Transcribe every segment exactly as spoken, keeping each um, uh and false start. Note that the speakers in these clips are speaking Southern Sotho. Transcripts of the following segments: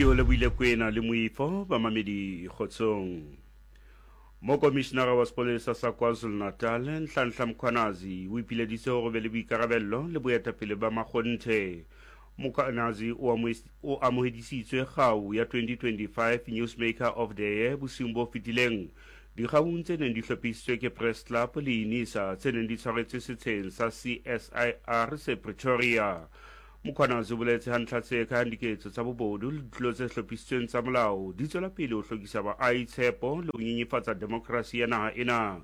Ke o lebohile Kwena le Moifo bamamedi kgotsong. Mokomishinara wa sepolesa sa KwaZulu-Natal Nhlanhla Mkhwanazi o ipileditse hore be le boikarabello le boetapele ba makgonthe. Mkhwanazi o o amohedisitswe kgau ya twenty twenty-five Newsmaker of the Year bosiung bo fetileng. Dikgaung tse neng di hlophisitswe ke Press Club le Unisa tse neng di tshwaretswe setsheng sa C S I R se Pretoria. Mkhwanazi o boletse ha ntlha tse kang diketso tsa bobodu le ditulo tse hlophisitsweng tsa molao di tswela pele ho hlokisa baahi tshepo le ho nyenyefatsa demokrasi ya naha ena.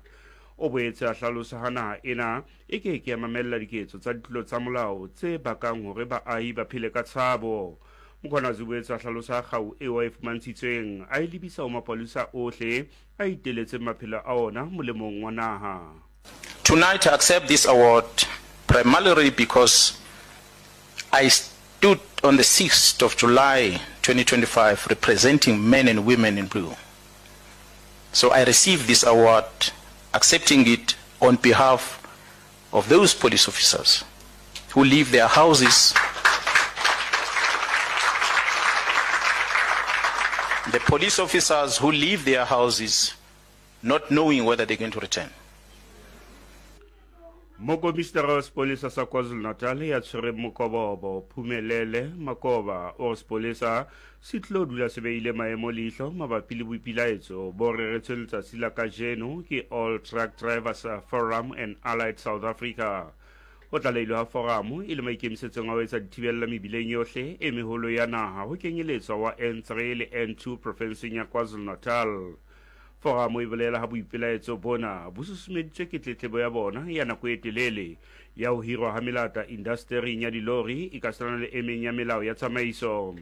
O boetse a hlalosa ha naha ena e ke ke ya mamella diketso tsa ditulo tsa molao tse bakang hore baahi ba phele ka tshabo. Mkhwanazi o boetse a hlalosa kgau eo a e fumantshitsweng a e lebisa ho mapolesa ohle a iteletseng maphelo a ona molemong wa naha. Tonight I accept this award primarily because I stood on the sixth of July twenty twenty-five representing men and women in blue. So I received this award, accepting it on behalf of those police officers who leave their houses, the police officers who leave their houses not knowing whether they're going to return. Mokomishinara wa sepolesa sa KwaZulu-Natal ya tshwereng mokobobo Phumelele Makoba o re sepolesa se tlo dula se beile maemo leihlo mabapi le boipilaetso bo reretsweng letsatsi la kajeno ke All Truck Drivers Forum and Allied South Africa. Ho tlalehilwe ha forum e le maikemisetsong a ho etsa dithibella mebileng yohle e meholo ya naha ho kenyeletswa wa N three le N two profenseng ya KwaZulu-Natal. Forum e bolela ha boipelaetso bona bo susumeditswe ke tletlebo ya bona ya nako e telele ya ho hirwa ha melata indastering ya dilori e ka sena le e meng ya melao ya tsamaiso.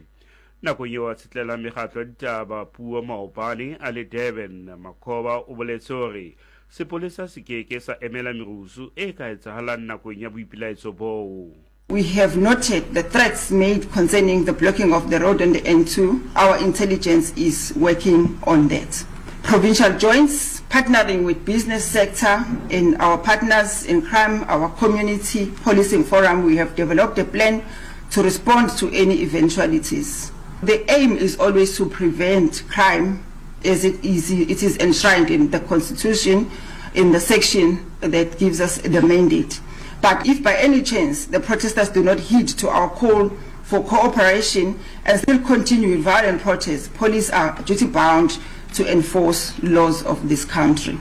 Nakong eo a tshetlela mekgatlo ya ditaba puo maobane a le Durban, Makhoba o boletse hore sepolesa se ke ke sa emela merusu e ka etsahalang nakong ya boipelaetso boo. We have noted the threats made concerning the blocking of the road on the N two. Our intelligence is working on that. Provincial joints, partnering with business sector and our partners in crime, our community policing forum, we have developed a plan to respond to any eventualities. The aim is always to prevent crime as it is, it is enshrined in the Constitution, in the section that gives us the mandate. But if by any chance the protesters do not heed to our call for cooperation and still continue with violent protests, police are duty-bound to enforce laws of this country.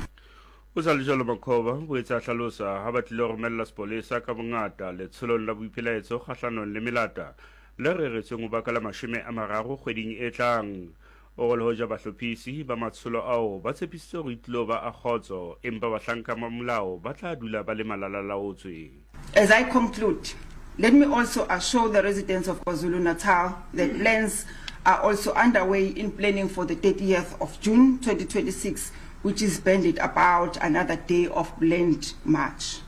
O sa le jwalo Makhoba o etsa hlalosa ha ba tlile romella sepolesa ka bongata letsholong la boipelaetso kgahlanong le melata le reretsweng ho baka la mashome a mararo kgweding e tlang. O re le hoja bahlophisi ba matsholo ao ba tshepisitse hore e tlilo ba a kgotso, empa bahlanka ba molao ba tla dula ba le malalalaotswe. As I conclude, let me also assure the residents of KwaZulu-Natal that plans are also underway in planning for the thirtieth of June twenty twenty-six, which is banded about another day of planned march.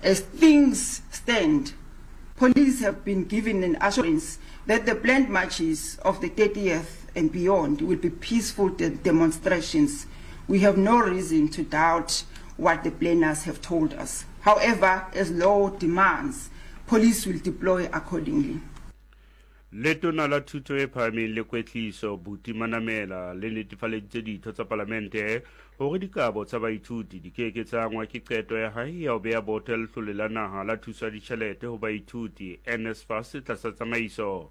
As things stand, police have been given an assurance that the planned marches of the thirtieth and beyond will be peaceful de- demonstrations. We have no reason to doubt what the planners have told us. However, as law demands, police will deploy accordingly. Letona la thuto e phahameng le kwetliso Buti Manamela le netefaleditse ditho tsa palamente hore dikabo tsa baithuti di ke ke tsa angwa ke qeto ya hae ya ho beha boto ya letlole la naha la thuso ya ditjhelete ho baithuti N S F A S tlasa tsamaiso.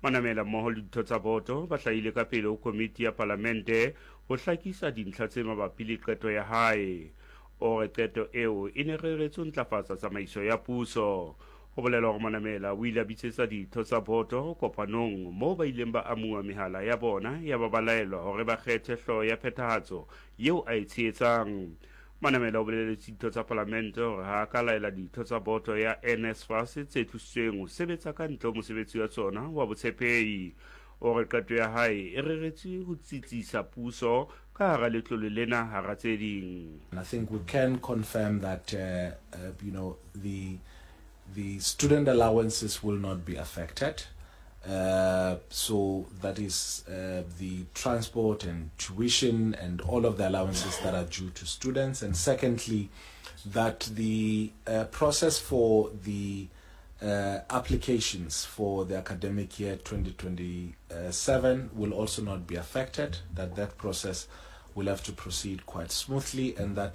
Manamela mmoho le ditho tsa boto ba hlahile ka pele ho komiti ya palamente ho hlakisa dintlha tse mabapi le qeto ya hae. O re qeto eo e ne reretswe ho ntlafatsa tsamaiso ya puso. Ho bolela hore Manamela o ile a bitsetsa ditho tsa boto kopanong moo ba ileng ba amuwa mehala ya bona ya ba ba laelwa hore ba kgethe hlooho ya phethahatso eo a e tshehetsang. Manamela o boleletse ditho tsa palamente hore ha a ka laela ditho tsa boto ya N S F A S tse tlositsweng ho sebetsa ka ntle ho mosebetsi wa tsona wa botshepehi. O re qeto ya hae e reretswe ho tsitsisa puso ka hara letlole lena hara tse ding. And I think we can confirm that, uh, uh, you know, the the student allowances will not be affected. Uh, so that is, uh, the transport and tuition and all of the allowances that are due to students. And secondly, that the, uh, process for the, Uh, applications for the academic year twenty twenty-seven will also not be affected, that that process will have to proceed quite smoothly, and that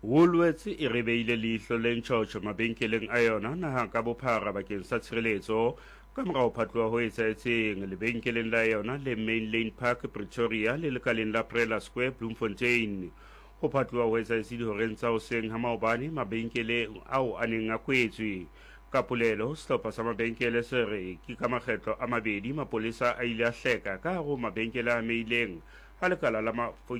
Woolworths e re beile leihlo le ntjhotjho mabenkeleng a yona naha ka bophara bakeng sa tshireletso ka mora ho phatloha ho etsahetseng lebenkeleng la yona le Main Lane Park Pretoria le lekaleng la Prela Square Bloemfontein. Ho phatloha ho etsahetse dihoreng tsa hoseng ha maobane mabenkeleng ao a neng a kwetswe. Ka polelo, sehlopha sa mabenkele se re ke ka makgetlo a mabedi mapolesa a ile a hleka ka hare ho mabenkele a amehileng ha lekala la mafokisi